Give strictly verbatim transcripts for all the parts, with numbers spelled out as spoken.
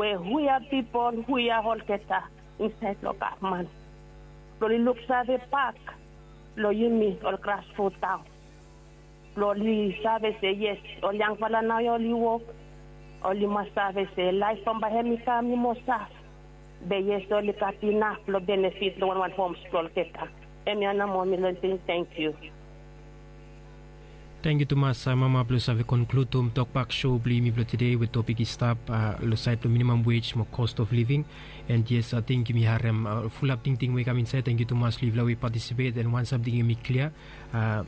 we hu ya pipol, hu ya olgeta insaed long gavman, blong oli luksave bak long yumi ol grasrut taon, blong oli save se yes, ol yangfala nao ya oli wok, oli mas save se laef bambae hemi kam i moa saf. Be yes, oli gat inaf blong benefit long wanwan homs blong olgeta. Hemia nao moa mi lesin. Tangkiu. Tangkiu tumas, mama, blong save konkludim tokbak show blong yumi blong tede we topik i stap long saed blong minimam wej mo cost of living. And yes, ating yumi harem fulap tingting we i kam insaed. Tangkiu tumas long yufala we i patisipet. And wan samting hemi klia,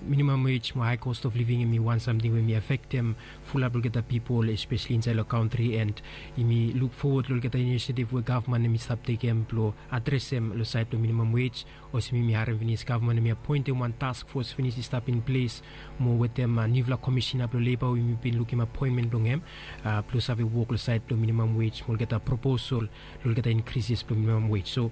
minimam wej mo hae cost of living hemi wan samting we hemi afektem fulap long olgeta pipol, espeseli insaed long kantri. And yumi luk fowod long olgeta inisiativ we gavman hemi stap tekem blong adresem long saed blong minimam wej. Olsem yumi harem finis, gavman hemi apoentem wan task fos finis i stap in ples mo wetem niufala komisina blong leba we yumi bin lukim apoentmen blong hem blong save wok long saed blong minimam wej mo olgeta proposal long olgeta inkrises blong minimam wej. So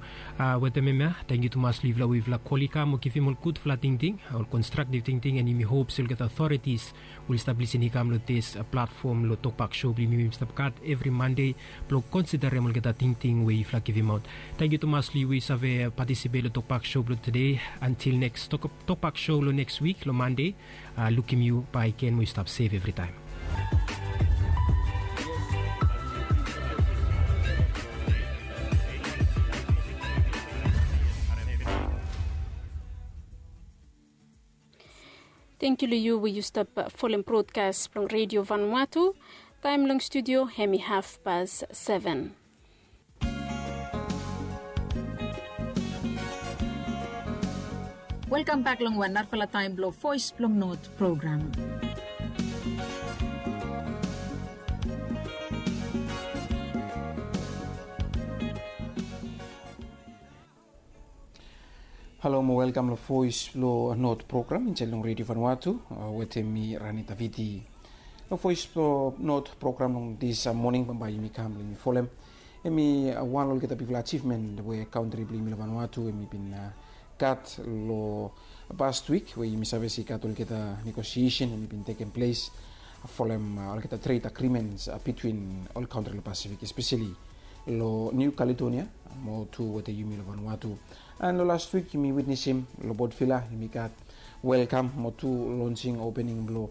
wetem hemia, tangkiu tumas long yufala we yufala kol i kam mo givim ol gudfala tingting, ol konstraktiv tingting. And yumi hop se olgeta otoritis we oli stap lisin i kam long dis platfom long tokbak show blong yumi we yumi stap gat evri Mande blong konsiderem olgeta tingting we yufala givimaot. Tangkiu tumas long yu we yu save patisipet long tokbak show blong tede. Antil neks tokbak show long neks wik long Mande, lukim yu bakegen mo yu stap sef evritaem. Tangkiu long yu we yu stap folem brodkas blong Redio Vanuatu. Taem long studio hemi hafpas seven. Welkam bak long wan narafala taem blong Voes blong Not program. Halo mo welkam long Voes blong Not program insaed long Redio Vanuatu. Wetem mi, Rani Taviti. Long Voes blong Not program long dis moning bambae yumi kam blong yumi folem, hemi wan long olgeta bigfala ajivmen we kantri blong yumi long Vanuatu hemi bin gat long past wik, we yumi save se i gat olgeta negosiesen hemi bin tekem ples folem olgeta tred agrimens bitwin ol kantri long Pasifik, espeseli long Niu Kaledonia mo tu wetem yumi long Vanuatu. And long last wik yumi witnesim long Port Vila yumi gat welkam mo tu lonsing, opening blong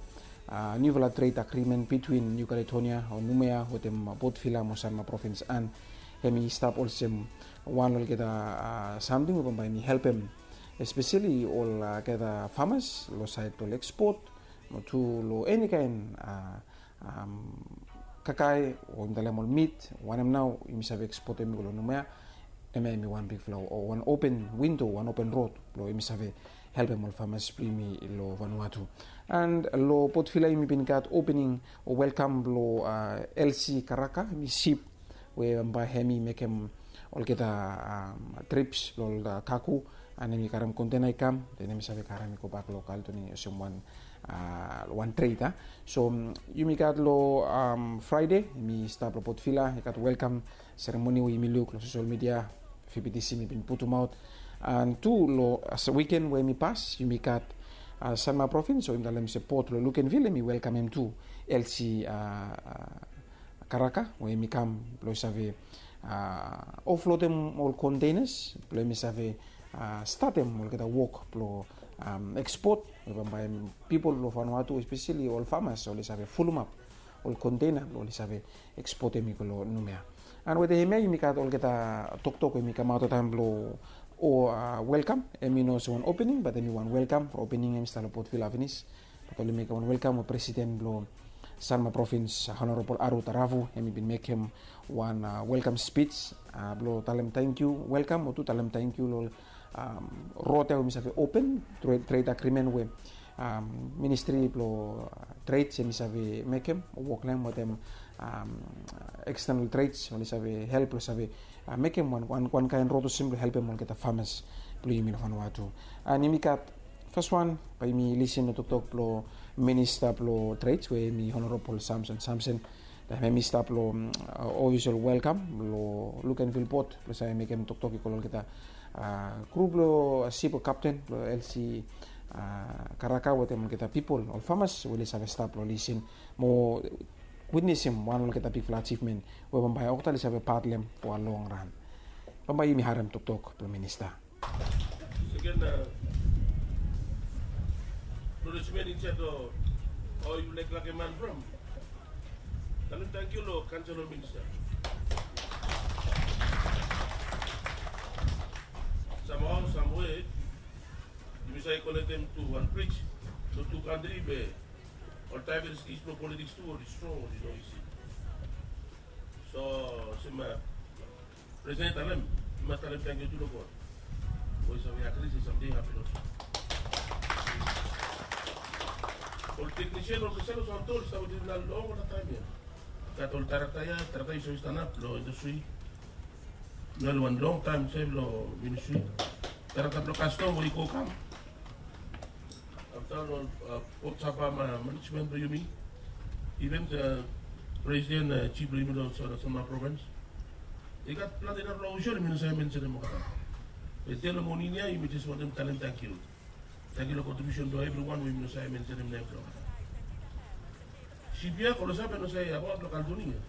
niufala tred agrimen bitwin Niu Kaledonia o Numea wetem Port Vila mo Sanma provins. And hemi stap olsem wan long olgeta samting we bambae hemi helpem espeseli olgeta famas long saed blong ekspot mo tu long enikaen kakae o yumi talem ol mit, wanem nao yumi save ekspotem i go long Numea. Hemia hemi wan bigfala o wan open windo, wan open rod blong yumi save helpem ol famas blong yumi long Vanuatu. And long Port Vila yumi bin gat opening o welkam blong Elsie Karaka, hemi sip we bambae hemi mekem olgeta trips blong ol kago, and hemi karem kontena i kam, then hemi save karem i gobak long Kaledonia olsem wan wan tred. So yumi gat long Fraede hemi stap long Port Vila, i gat welkam seremoni we yumi luk long sosel midia, V B T C hemi bin putumaot. And tu long wiken we hemi pas yumi gat Sanma provins, o yumi talem se Port long Luganville, hemi welkamem tu Elsie Karaka we hemi kam blong i save oflodem ol kontenas blong hemi save statem olgeta wok blong ekspot we bambae pipol blong Vanuatu, espeseli ol famas, oli save fulumap ol kontena blong oli save ekspotem i go long Numea. And wetem hemia yumi gat olgeta toktok we hemi kamaot long taem blong o welkam. Hemi no olsem wan opening, bat hemi wan welkam. Opening hemi stap long Port Vila finis, bat oli mekem wan welkam we presiden blong Sanma provins, Honorabol Aru Taravu, hemi bin mekem wan welkam spij blong talem tangkiu, welkam o tu talem tangkiu long rod ya we hemi save open, tred agrimen we ministri blong treds hemi save mekem o wok long hem wetem ekstenal treds, oli save help blong save mekem wan kaen rod olsem blong helpem olgeta famas blong yumi long Vanuatu. And yumi gat faswan, bae yumi lisin long toktok blong minista blong treds we hemi Honorabol Samson Samson. Taem hemi stap long ofisol welkam long Luganville Port blong save mekem toktok i go long olgeta grup blong sip o kapten blong Elsie Karaka wetem olgeta pipol, ol famas we oli save stap blong lisin mo witnesim wan olgeta bigfala achivmen we bambae olgeta oli save pat long hem fo a long ran. Bambae yumi harem toktok blong minista. Seken, a, acknowledgement insait o, o yufala i laik lakem man from. Talem tangkiu long kansel o minista. Samhao, samwe, yumi save konektem tu wan brij long tu kantri be oltaem i stap long politiks tu, oli strong, oli no isi. So, olsem, a, Presiden i talem, yu mas talem tangkiu tu long God. We yu save agri se samting i hapen olsem. Ol teknisien, ol Cristiano Santo, oli stap wetem yumi long taem ya. Gat ol tarakta ya, tarakta yu save stanap long indastri. Nao long taem se long ministri. Tarakta blong kastom we i go kam. Afta long, a, Port Sapa manejmen blong yumi. Iven, a, presiden, a, jif blong yumi long Sa-, Sanma provins. I gat plante narafala ofisol yumi no save mensenem olgeta. Be tede long moning ya yumi jes wantem talem tangkiu. Tangkiu long kontribiusen blong evriwan we yumi no save mensenem nem blong olgeta. Sip ya, Kolosa, be no save abaot long Kaledonia.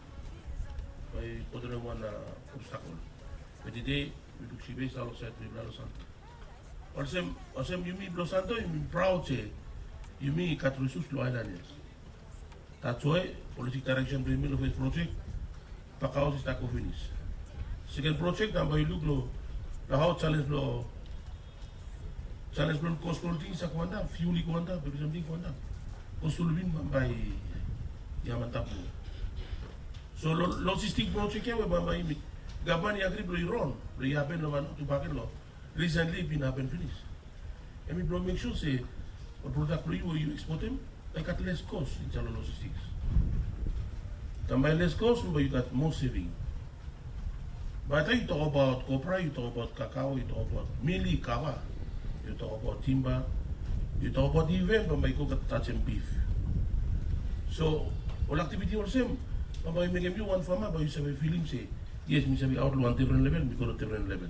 Bae i go tru long wan, a, obstakol. Be tede yu luk sip ya i stap long saed blong yumi long Santo. Olsem, olsem yumi blong Santo, yumi praod se yumi gat risos long aelan ya. That's why politik daereksen blong yumi long fes projek, bakhaos i stap go finis. Seken projek, nao bae yu luk long, long hao jalenj blong, jalenj blong kos blong ol ting i stap go antap, fiul i go antap, evri samting i go antap. Kos blong living bambae i, i antap moa. So lo-, lojistik projek ya we bambae yumi, gavman i agri blong i ron, blong i hapen long Vanuatu bakegen long Risentli i bin hapen finis. Hemi blong mek sua se ol prodak blong yu we yu ekspotem bae i gat les kos insaed long lojistiks. Taem bae i les kos, bae yu gat moa seving. Bae taem yu tokbaot kopra, yu tokbaot kakao, yu tokbaot mili, kava, yu tokbaot timba, yu tokbaot iven bambae i go gat tajem bif. So ol aktiviti olsem bambae i mekem yu wan fama bae yu save filim se yes, mi save aot long wan defren level, mi go long defren level.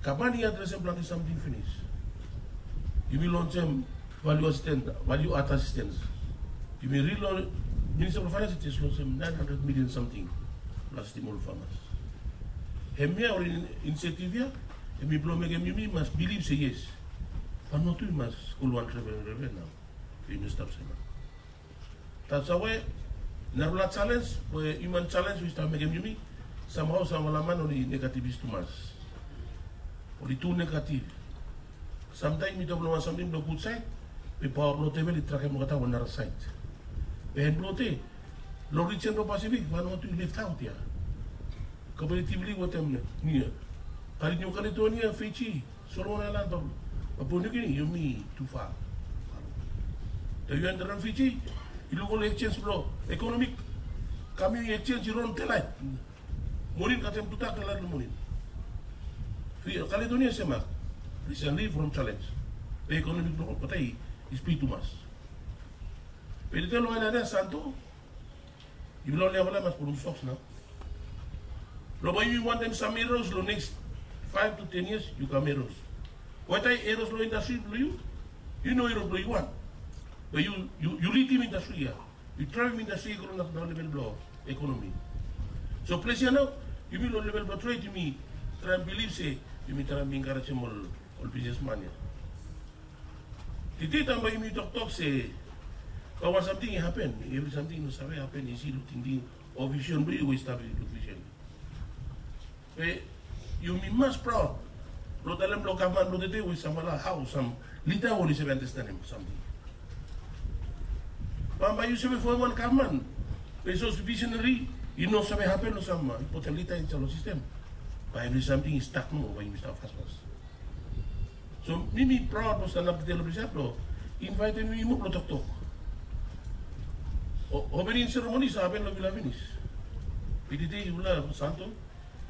Gavman i adresem plante samting finis. Yumi lonsem value assistance, value add assistance. Yumi rili, Minista blong Faenans i jes lonsem naen handred milian samting blong asistem ol famas. Hemia ol in-, inisiativ ya hemi blong mekem yumi mas bilif se yes, Vanuatu i mas go long wan defren level nao. Yumi no stap sem. That's why narafala jalenj we, hiuman jalenj we i stap mekem yumi, samhao samfala man oli negativis tumas. Oli tu negativ. Samtaem yumi tok long wan samting blong gud saed, be paoa blong devil i trakem olgeta wan nara saed. Be hem blong tede, long rijen blong Pasifik, Vanuatu i left out ya. Komparativli wetem Niu Kaledonia, Fiji, Solomon Aelan, Papua Niu Gini, yumi tu fa. Taem yu enter long Fiji, yu luk ol ekjenj blong ekonomi, kam yu ekjenj i ron delaet. Moning kasem tu tak delaet long moning. Fi-, Kaledonia semak. Risenli from jalenj. Be ekonomi blong olgeta i, i spid tumas. Be tede long aelan ya Santo, yumi long olgeta mas pulum soks nao. Long bae yumi wantem sam eros long neks faef tu ten yias, yu kam eros. Wetaem eros long indastri blong yu, yu no eros blong yu wan. Be yu, yu, yu lidim indastri ya. Yu draevem indastri i go long nara level blong ekonomi. So ples ya nao, yumi long level blong tred, yumi traem bilif se yumi traem enkarejem ol, ol bisnesman ya. Tede taem bae yumi toktok se bae wan samting i hapen, evri samting i no save hapen isi long tingting o visen blong yu we yu stap long visen. Be yumi mas praod blong talem long gavman blong tede we samfala hao sam lida oli save andastanem samting. Bambae yu save fomem wan gavman be sapos viseneri i no save hapen long sam impoten lida insaed long sistem, bae evri samting i stak nomo, bae yumi stap fasfas. So mi, mi praod blong stanap tede long ples ya blong invaetem yumi moa blong toktok. O, opening seremoni i save hapen long Vila finis. Be tede yufala Santo,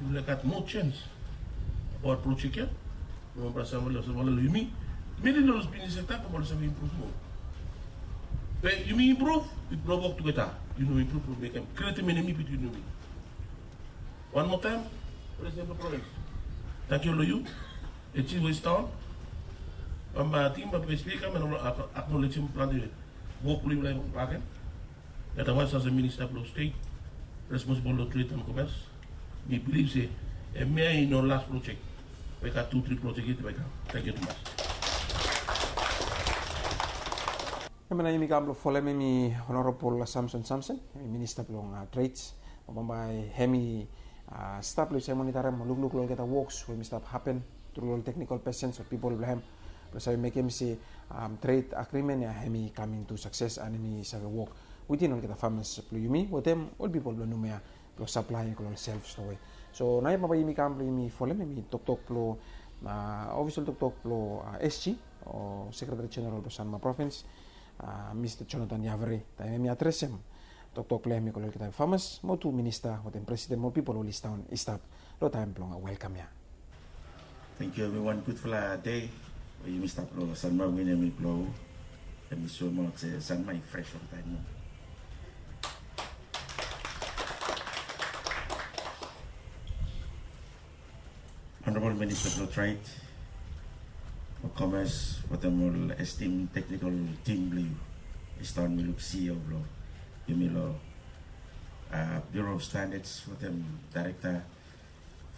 yufala gat moa jens abaot projek ya. Long wanpela samfala, samfala long yumi, many long ol bisnes sekta, bambae oli save impruv moa. Be yumi impruv, yumi blong wok tugeta. Yu no impruv, blong mekem, krietem enemi bitwin yumi. Wan moa taem, Presiden blong provins, tangkiu long yu. Ejin Weston, bambae ating bambae spika, mi no acknowledgem plante wok blong yufala bakegen. Otherwise, as a minista blong stet responsibol long tred and komes, mi bilif se hemia i no las projek. Bae i gat tu tri projek yet bae i kam. Tangkiu tumas. Hemia nao yumi kam blong folem hem i Honorabol Samson Samson, hem i minista blong tred. Bambae hem i stap long i save monitarem mo lukluk long olgeta woks we hem i stap hapen tru long ol teknikol pesens o pipol blong hem blong save mekem se tred agrimen ya hem i kam intu sakses and hem i save wok witin olgeta famas blong yumi wetem ol pipol blong Noumea blong saplae long ol self stowe. So naoia bambae yumi kam blong yumi folem hem i toktok blong ofisol toktok blong SG o Sekretari Jeneral blong Sanma Provins, Mista Jonathan Yavere, taem hem i adresem toktok blong hem i go long olgeta famas mo tu minista wetem presiden mo pipol we oli sindaon i stap long taem blong welkam ya. Tangkiu evriwan, gudfala dei we yumi stap long Sanma, win hem i blo, hem i soemaot se Sanma i fres oltaem nao. Honorabol Minista blong Tred, Komes wetem ol estim teknikol tim blong yu. Esta on mi luk CEO blong yumi long Bureau of Standards wetem Daerekta,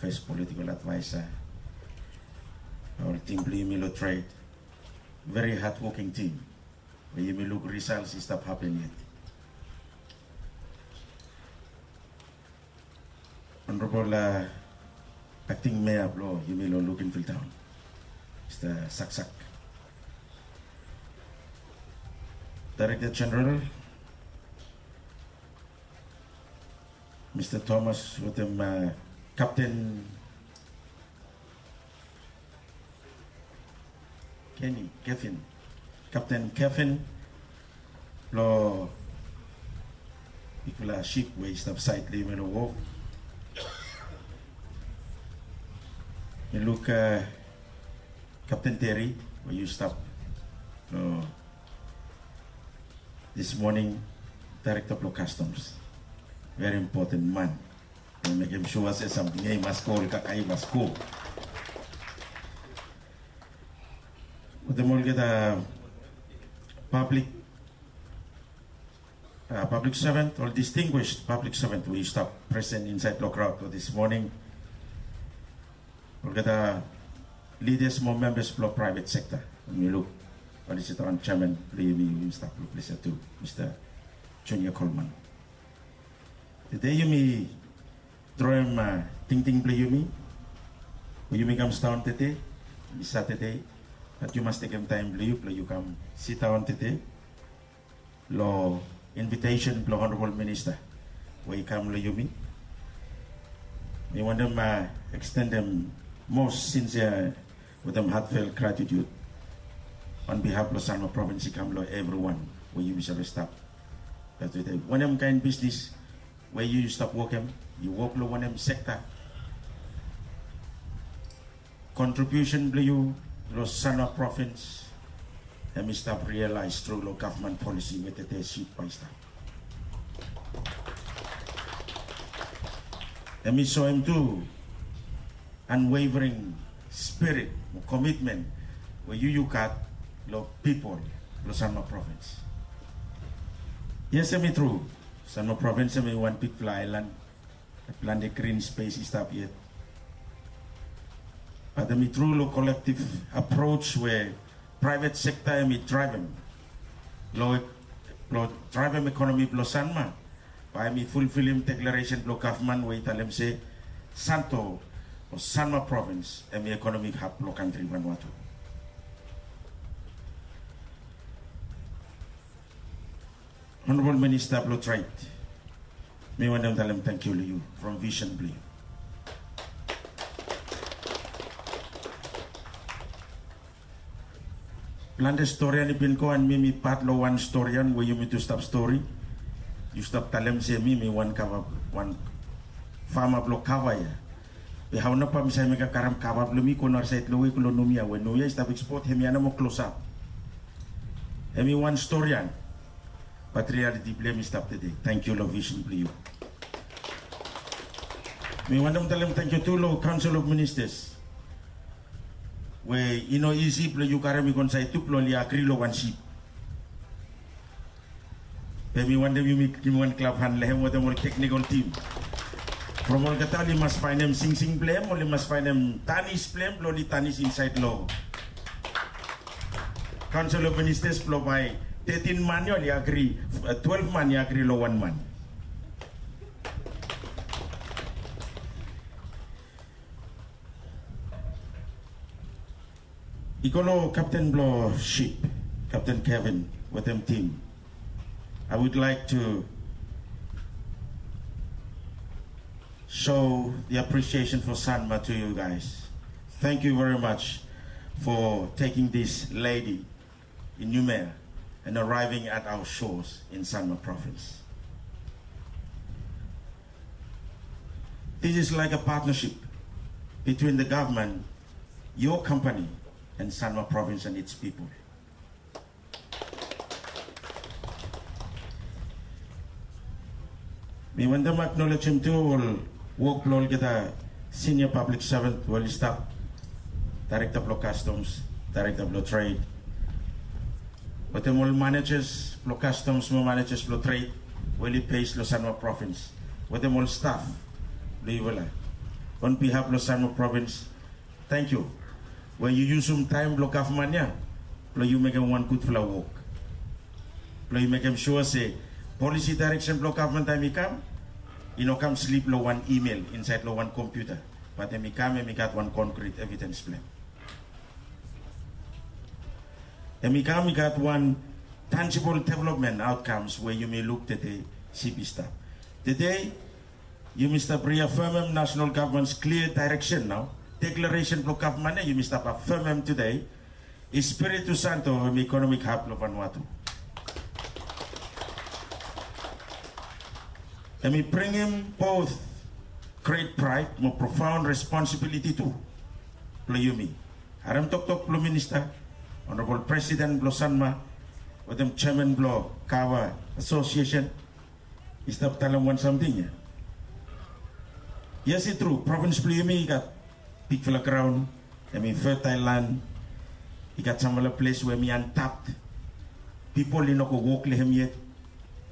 fes politikol advaesa, ol tim blong yumi long tred. Veri hadwoking tim we yumi luk risals i stap hapen yet. Honorabol Akting Mea blong yumi long Luganville Taon, Mista Saksak. Daerekta Jeneral, Mista Thomas wetem Kapten Kenny, Kevin, Kapten Kevin blong bigfala sip we i stap saed long yumi long wof. Mi luk Kapten Terry we yu stap long dis moning, Daerekta blong Kastoms. Veri impoten man. Mekem sua se samting ya i mas go, ol kakae i mas go. Wetem olgeta pablik, pablik sevan, ol distinguished pablik sevan we i stap presen insaed long kraod long dis moning. Olgeta lidas mo membas blong praevet sekta. Mi luk oli sidaon jeaman blong yumi, yumi stap long ples ya tu, Mista Junior Coleman. Tede yumi droem tingting blong yumi we yumi kam sidaon tede. Hemi Satade, bat yu mas tekem taem blong yu blong yu kam sidaon tede long invitesen blong Honorabol Minista we i kam long yumi. Mi wantem ekstendem mos sinsia wetem heartfelt gratitude on behalf blong Sanma Provins i kam long evriwan we yumi save stap. Wanem kaen bisnis we yu stap wokem, yu wok long wanem sekta, kontribiusen blong yu long Sanma Provins hemi stap rialaes tru long gavman polisi we tede sip bae i stap. Hemi soem tu unwavering spirit mo komitmen we yu yu gat long pipol blong Sanma Provins. Yes, hemi tru, Sanma Provins hemi wan bigfala aelan, plante grin spes i stap yet. Bat hemi tru long kolektiv aproj we praevet sekta hemi draevem long, long draevem ekonomi blong Sanma, bae hemi fulfilim deklaresen blong gavman we i talem se Santo o Sanma Provins hemi ekonomik hab blong kantri Vanuatu. Honorabol Minista blong Tred, mi wantem talem tangkiu long yu from visen blong yu. Plante storian i bin go and mi mi pat long wan storian we yumi tu stap stori. Yu stap talem se mi mi wan kava, wan fama blong kava ya. Be hao nao bae mi save mekem karem kava blong mi go narasaed long we go long Noumea we Noumea i stap ekspot hemia nomo klosap. Hemi wan storian. Bat rialiti blong hem i stap tede. Tangkiu long visen blong yu. Mi wantem talem tangkiu tu long Council of Ministers we i no isi blong yu karem i go insaed tu blong oli agri long wan sip. Be mi wantem yumi givim wan klap han long hem wetem ol teknikol tim. From olgeta oli mas faenem singsing blong hem, oli mas faenem tanis blong hem blong oli tanis insaed long Council of Ministers blong bae tetin man ya oli agri, twelef man i agri long wan man. I go long kapten blong sip, Kapten Kevin wetem tim. I would like to show the appreciation for Sanma to you guys. Thank you very much for taking this lady in Noumea and arriving at our shores in Sanma province. This is like a partnership between the government, your company, and Sanma province and its people. Mi wantem aknolejem tu ol wok blong olgeta senior public servant we oli stap, Director blong Customs, Director blong Trade, wetem ol managers blong Customs mo managers blong Trade we oli base long Sanma province, wetem ol staf blong yufala. On behalf blong Sanma province, tangkiu we yu yusum taem blong gavman ya blong yu mekem wan gudfala wok, blong yu mekem sua se polisi daereksen blong gavman taem i kam, i no kam slip long wan email insaed long wan kompiuta, bat hem i kam, hem i gat wan konkret evidens blong hem. Hem i kam i gat wan tangible development outcomes we yumi luk tede. Sip i stap tede. Yumi stap riafemem nasenal gavman's klia daereksen nao. Deklaresen blong gavman ya yumi stap afemem tede. Espiritu Santo hem i ekonomik hab blong Vanuatu. Hem i bringim both great pride mo profound responsibility tu blong yumi. Harem toktok blong minista, Honorable President blong Sanma, wetem Chairman blong Kawa Association, i stap talem wan samting ya. Yes, i tru, provins blong yumi i gat bigfala graon, hem i fertael lan, i gat samfala ples we hem i antap. Pipol i no go wok long hem yet.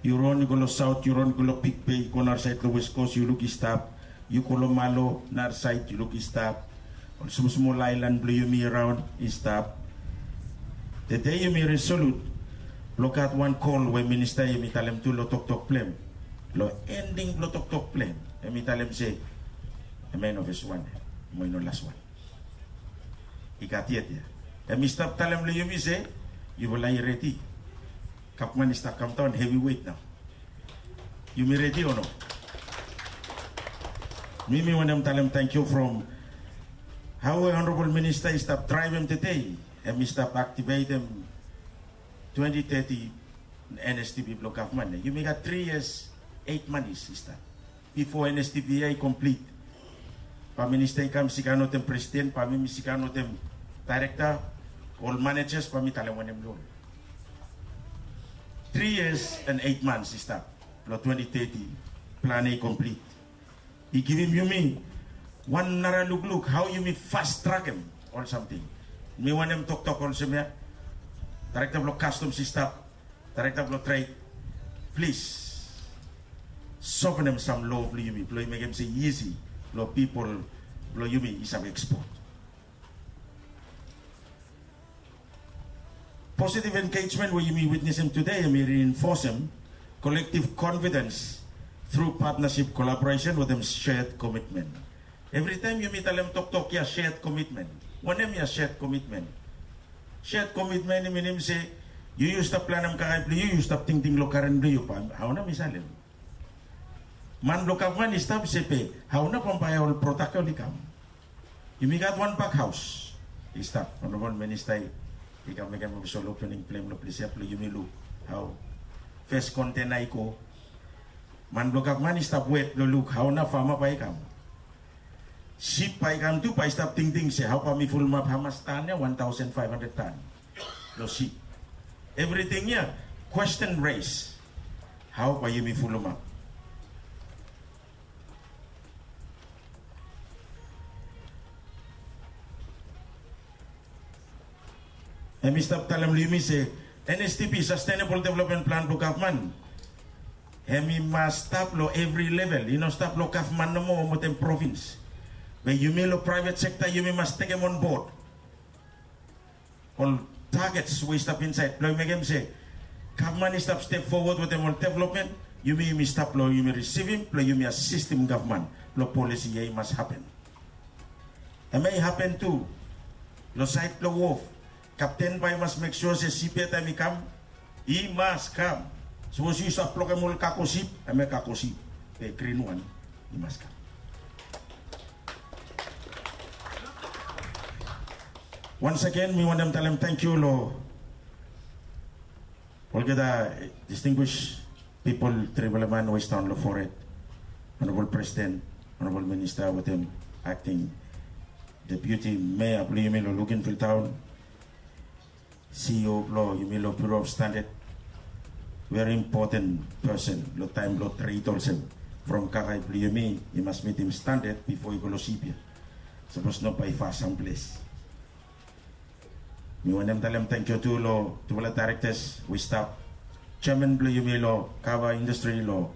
Yu ron i go long saot, yu ron i go long Big Bay, go narasaed long West Coast, yu luk i stap. Yu go long Malo, narasaed, yu luk i stap. Ol smosmol aelan blong yumi araon i stap. Tede yumi resolut blong gat wan kol we minista yumi talem tu long toktok blong hem. Long ending blong toktok blong hem, hem i talem se hem i no fes wan mo i no las wan. I gat yet ya. Hem i stap talem long yumi se yufala i redi. Gavman i stap kamdaon heavyweight nao. Yumi redi o no? Mi mi wantem talem tangkiu from hao we Honorable Minista i stap draevem tede, hem i stap aktivetem twenti teti NSTP blong gavman ya. Yumi gat tri yias, eit manis i stap bifo NSTP ya i komplit. Bae minista i kam sigan wetem presiden, bae mi mi sigan wetem daerekta, ol manejas, bae mi talem wanem long ol. Tri yias and eit mans i stap blong twenti teti, plan ya i komplit. I givim yumi wan nara lukluk hao yumi fast trakem ol samting. Mi wantem toktok olsem ya, daerekta blong kastoms i stap, daerekta blong tred, plis softenem sam loa blong yumi blong i mekem se isi blong pipol blong yumi i save ekspot. Positive engagement we yumi witnesem tede, yumi reinforcem collective confidence through partnership, collaboration wetem shared commitment. Evritaem yumi talem toktok ya, shared commitment. Wanem ya shared commitment? Shared commitment i minim se yu, yu stap planem kakae blong yu, yu stap tingting long karen blong yu, bae hao nao mi salem. Man blong gavman i stap se be hao nao bambae ol prodak ya oli kam. Yumi gat wan bakhaos i stap, Honorable Minista i kam mekem ofisol opening blong hem long ples ya blong yumi luk hao fes kontena i go. Man blong gavman i stap wet blong luk hao nao fama bae i kam. Sip bae i kam tu, bae i stap tingting se hao bae mi fulumap hamas tan ya, wan taosen faef handred tan long sip. Evriting ya, kwesten res, hao bae yumi fulumap. Hem i stap talem long yumi se NSTP, Sustainable Development Plan blong gavman, Hem i mas stap long evri level, i no stap long gavman nomo wetem provins. Be yumi long praevet sekta yumi mas tekem onbod ol tagets we i stap insaed blong mekem se gavman i stap step fowod wetem ol developmen. Yumi yumi stap long yumi risivim blong yumi asistim gavman blong polisi ya i mas hapen. Hem ya i hapen tu long saed blong wof. Kapten bae i mas mek sua se sip ya taem i kam i mas kam. Sapos yu save blokem ol kako sip, hem ya kako sip, be grin wan i mas kam. Wans agen mi wantem talem tangkiu long olgeta distinguis pipol, tribal man we i stap long fored, onabol presiden, onabol minista wetem akting deputi mea blong yumi long Luganville taon, CEO blong yumi long Bureau of Standard, veri impoten pesen long taem blong tred olsem. From kakae blong yumi i mas mitim standard bifo i go long sip ya. Sapos no bae i fas samples. Mi wantem talem tangkiu tu long tufala daerektas we i stap, jeaman blong yumi long kava indastri long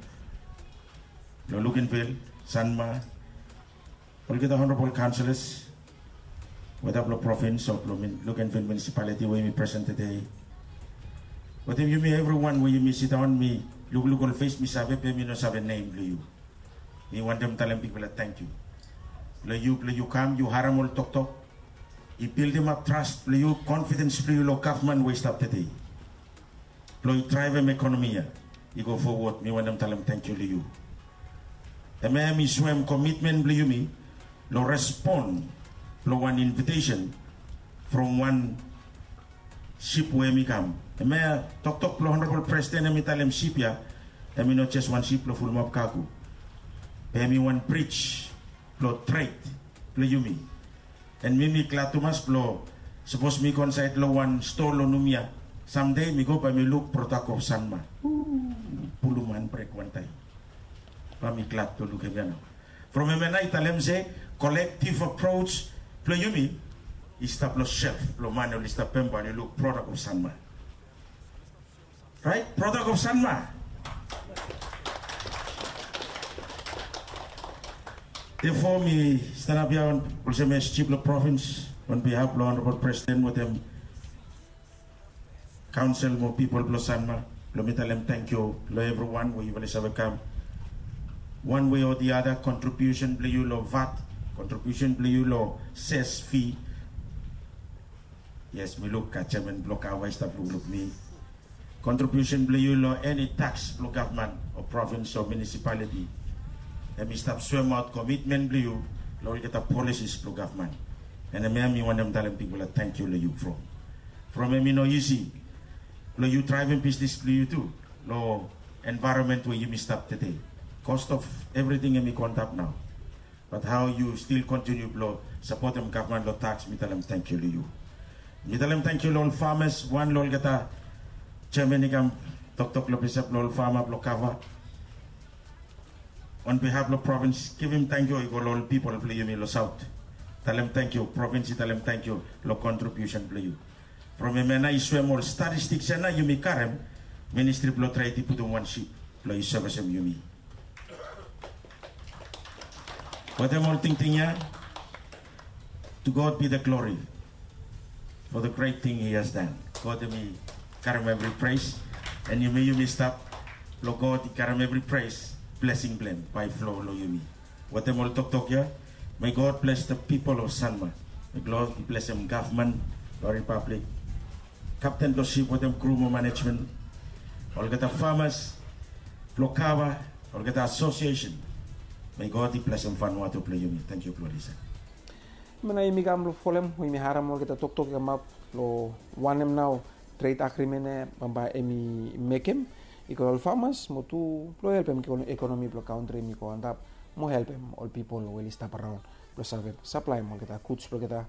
Luganville, Sanma, olgeta onabol kaonselas, weda blong provins o blong Luganville munisipaliti we yumi presen tede. Wetem yumi evriwan we yumi sidaon, mi lukluk ol fes mi save be mi no save nem blong yu. Mi wantem talem bigfala tangkiu long yu blong yu kam yu harem ol toktok. I bildimap tras blong yu, konfidens blong yu long gavman we i stap tede blong i draevem ekonomi ya i go fowod. Mi wantem talem tangkiu long yu. Hem ya hem i soem komitmen blong yumi long respon blong wan invitesen from wan sip we hem i kam. Hem ya toktok blong onabol presiden hem i talem sip ya hem i no jes wan sip blong fulumap kago, be hem i wan brij blong tred blong yumi. An mi mi glad tumas blong sapos mi go insaed long wan stoa long Numia samde mi go bae mi luk prodak of Sanma. Pulum handbrek wantaem. Bae mi glad blong lukim ya nao. From hem ya nao i talem se kolektiv apros blong yumi i stap long self blong man oli stap pem bae oli luk prodak of Sanma. Raet, prodak of Sanma. Therefore mi stanap ya olsem es jif blong provins on bihaf blong onabol presiden wetem kaonsel mo pipol blong Sanma blong mi talem tangkiu long evriwan we yufala i save kam wan wei o di ada. Kontribiusen blong yu long vat, kontribiusen blong yu long ses fi. Yes, mi luk jeaman blong kava i stap lukluk mi. Kontribiusen blong yu long eni taks blong gavman o provins o munisipaliti, hem i stap soemaot komitmen blong yu long olgeta polisis blong gavman. An hem ya mi wantem talem bigfala tangkiu long yu from from hem i no isi blong yu draevem bisnis blong yu tu long envaeronmen we yumi stap tede. Kos of evriting hem i go antap nao. Bat hao yu stil kontiniu blong sapotem gavman long taks, mi talem tangkiu long yu. Mi talem tangkiu long ol famas, wan long olgeta jeaman i kam toktok long pesa blong ol fama blong kava. On bihaf blong provins givim tangkiu i go long ol pipol blong yumi long saot. Talem tangkiu, provins i talem tangkiu long kontribiusen blong yu. From hem ya nao i soem ol statistiks ya nao yumi karem, ministri blong tred i putum wan sip blong i sevisem yumi. Wetem ol tingting ya, to God be the glory for the great thing he has done. God hem i karem evri pres, an yumi yumi stap blong God i karem evri pres. Blesing blong hem bae i flo long yumi. Wetem ol toktok ya, may God bless the people of Sanma. May God blessem gavman blong ripablik, kapten blong sip wetem kru mo manejmen, olgeta famas blong kava, olgeta asosiesen. May God i blesem Vanuatu blong yumi. Tangkiu blong lisen. Hemia nao yumi kam blong folem we yumi harem olgeta toktok i kamap long wanem nao tred agrimen ya bambae hem i mekem i go long ol famas mo tu blong helpem ekonomi blong kantri hem i go antap mo helpem ol pipol we oli stap raon blong save saplaem olgeta guds blong olgeta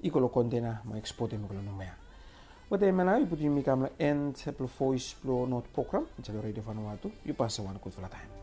i go long kontena mo ekspotem i go long Numea. Wetem hemia nao i putum yumi kam long en blong Voes blong Not program insait long Redio Vanuatu. Yu pasem wan gudfala taem.